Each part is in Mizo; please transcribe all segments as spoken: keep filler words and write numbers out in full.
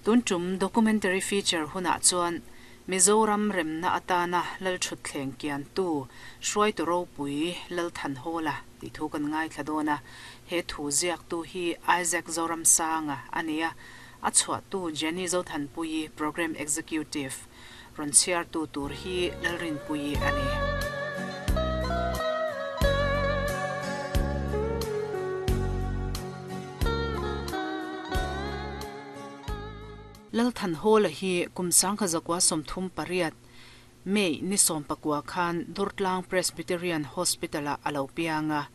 Tun tum documentary feature huna chuan Mizoram remna atana lal thut thleng kian tu hruai tu ropui lal than hola ti thu kan ngai thladona he thu ziak tu hi Isaac Zoram Sanga ania a chhuah tu Jenny Zothanpui program executive ron chiar tu tur hi lalrin pui ani. Lal than hola hi kumsang kha zakwa somthum pariat May ni som pakwa khan Durtlang Presbyterian Hospital a alo pianga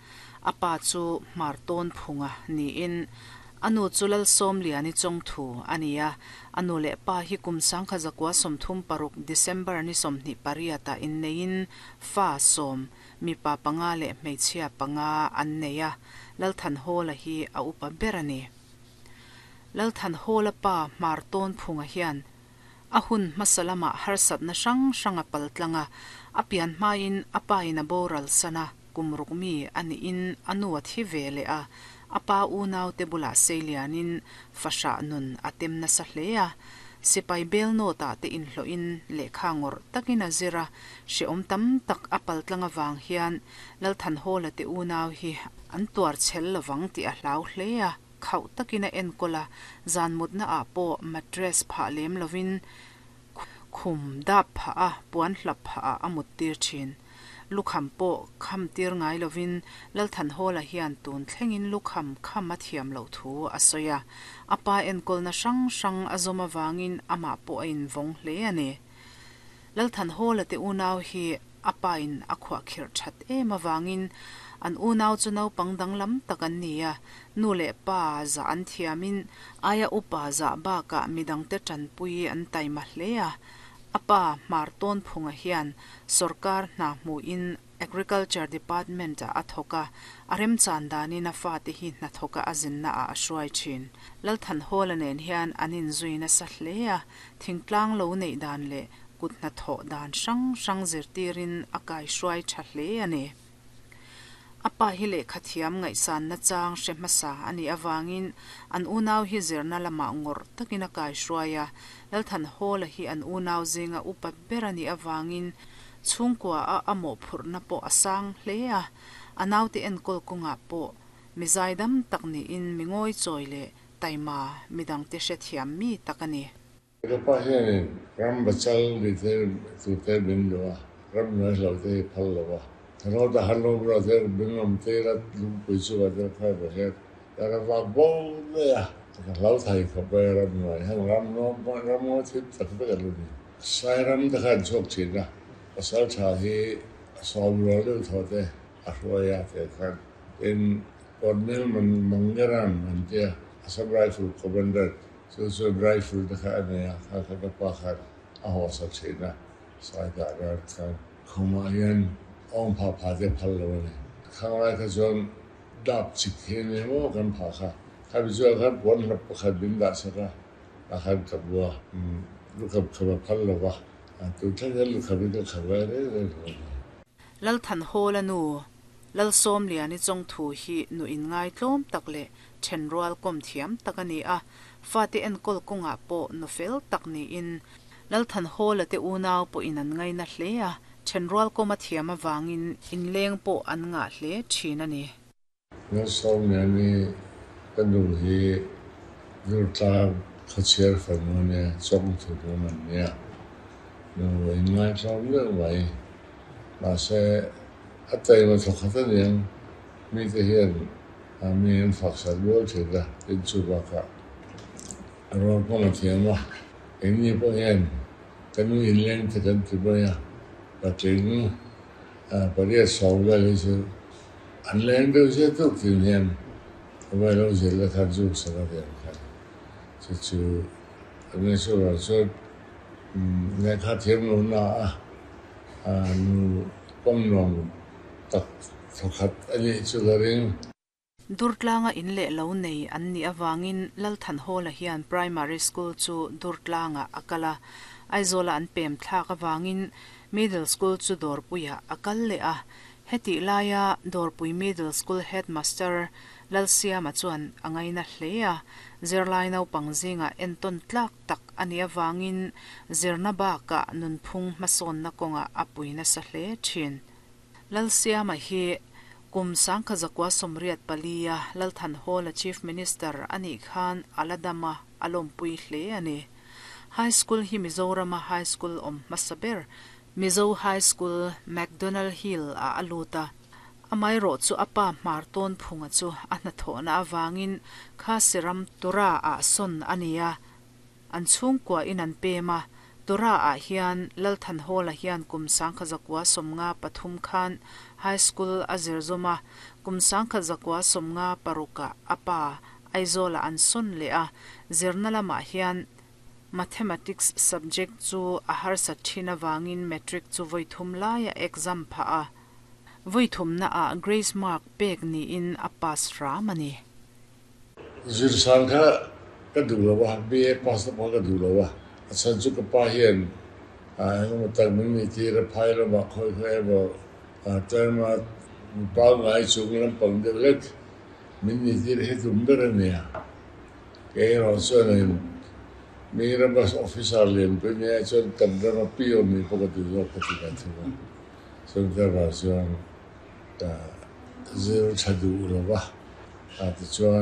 apa chu marton phunga ni in anu chulal som liani chong thu ania anu le pa hi kumsang kha zakwa somthum paruk December ni somni pariata in nein fa som mi pa panga le hmeichhia panga an neia lal than hola hi a upa berani. Lal than hola pa marton phunga hian ahun masalama harsat na sang sanga paltlanga apian main apain a boral sana kumrukmi ani in anuwa thi vele a apa unaw te bula seilianin fasha nun atem na sa hlea sipai bel no ta te in hlo in lekha ngor takina zira she om tam tak apal tlanga wang hian lal than hola te unaw hi an tuar chhel lawang ti a hlau hlea khau takina en kola zan mutna a po mattress pha lem lovin khum dap pha a puan hlap pha a amut tir thin lukham po kham tir ngai lovin lal than hola hian tun thlengin lukham kham a thiam lo thu a soya apa en kol na sang sang azoma wangin ama po a in vong hle ani. Lal than hola te unaw hi apa in akhwa khir that em awangin an unaw chu nau pangdang lam takan nia nu le pa za an thiamin aya upa za ba ka midang te chan pui an taima hlea apa marton phunga hian sarkar hna mu in agriculture department a athoka arem chandani na fa te hi na thoka azin na a hruai thin lal than hola nen hian anin zuina sa hlea thingtlang lo nei dan le kut na tho dan sang sang zirtirin akai hruai tha hle ani. Apa hi le khathiam ngai san na chang hre hmasa ani awangin an unaw hi zirna lama ngor takina kai hruaia lal than hola hi an unaw zinga upa berani awangin chhungkwa a amo phurna po asang hlea anaw te enkol kunga po mizaidam takni in mingoi choile taima midang te hre thiam mi takani. Ka pa hianin ram bachal ni te tu te min lo a ram noi lo te phal lo a ro da han lo ro te min om te ra lung pui chu wa te phai ba he ta ra wa bo le a ka lau thai ka pa ram noi hang ram no ram no thip tak pe ka lu ni sai ram da khan chok chin na pasal tha hi som ro lu tho te a ro ya te khan in Colonel man mangaran man te Assam Rifle commander so so rifle da kha ne kha kha ka pa kha a ho sa chin na sai da ra khan khuma yan ong pha pha te phal lo ne khang lai kha chuan dap chik he ne mo kan pha kha kha bi chu kha pon hlap kha bin da sa ka a khan ka bua lu kha kha phal lo wa a tu thleng lu kha bi ka kha wa re re. Lal than hola nu lal som liani chong thu hi nu in ngai tlom tak le thenrual kom thiam takani a fa te en kol kunga po no fel tak ni in lal than hola te unaw po in an ngai na hlea thenrual koma thiam awangin in leng po an nga hle thin ani. Lal som liani kan nu hi Durtlang khachiar fanu ne chong thu man nia nu in ngai tlom le mai ma se atai ma thokhat niang mi te hian a mi an fak sa lual the da tin chu ba ka ro ko ma thiam ma eng ni po hian kan nu in leng te kan ti ba ya pa ting a paria som la le chu an leng deuh se tuk tin hian a vai lo zel la khan chu sa la te khan chu chu an chu ra chu ngai kha thiam lo na a a nu kom nong tak thokhat ani chu la ring. Durtlanga in le lo nei an ni awangin lal than hola hian primary school chu Durtlanga akala Aizola an pem thlak awangin middle school chu Dorpuia akal le a heti laia Dorpui middle school headmaster Lalsiama chuan a ngaina hle a, zirlai naupang zingah entawn tlak tak a nih avangin zirna bakah nunphung hmasawnna kawngah a pui nasa hle thin. Lalsiama hi kum sangkha zakua sawmriat palia Lalthanhawla Chief Minister a nih khan a la dam a, a lawmpui hle a ni. High School hi Mizorama High School awm hmasa ber Mizo High School McDonald Hill ah a lut a. Amaherawh chu a pa hmar tawn phunga chu a hnathawhna avangin Khasi ram Tura ah sawn a ni a, an chhungkua in an pem a. Tura ah hian Lalthanhawla hian kum sangkha zakua sawmnga pathum khan High School a zir zawm a, kum sangkha zakua sawmnga parukah a pa Aizawlah an sawn leh a, zirna lamah hian Mathematics subject chu a harsat thin avangin Matric chu vawi thum laia exam phah a, vawi thumna ah Grace Mark pek niin a pass hram a ni. Zirsan kha ka duh lo a, B A pass na pawh ka duh lo a, a chhan chu ka pa hian engemaw tak min nih tir a phai lamah khawi khawi emaw term a pangngai chung lampang deuh hlek min nih tir hi tum ber a nia. Kei erawh chuanin mi rama officer lian pui mai ah chuan kan rama P O nih pawh ka duh zawk ka ti ve thung a. Chungte avang chuan ka zir tha duh lo va, a tichuan.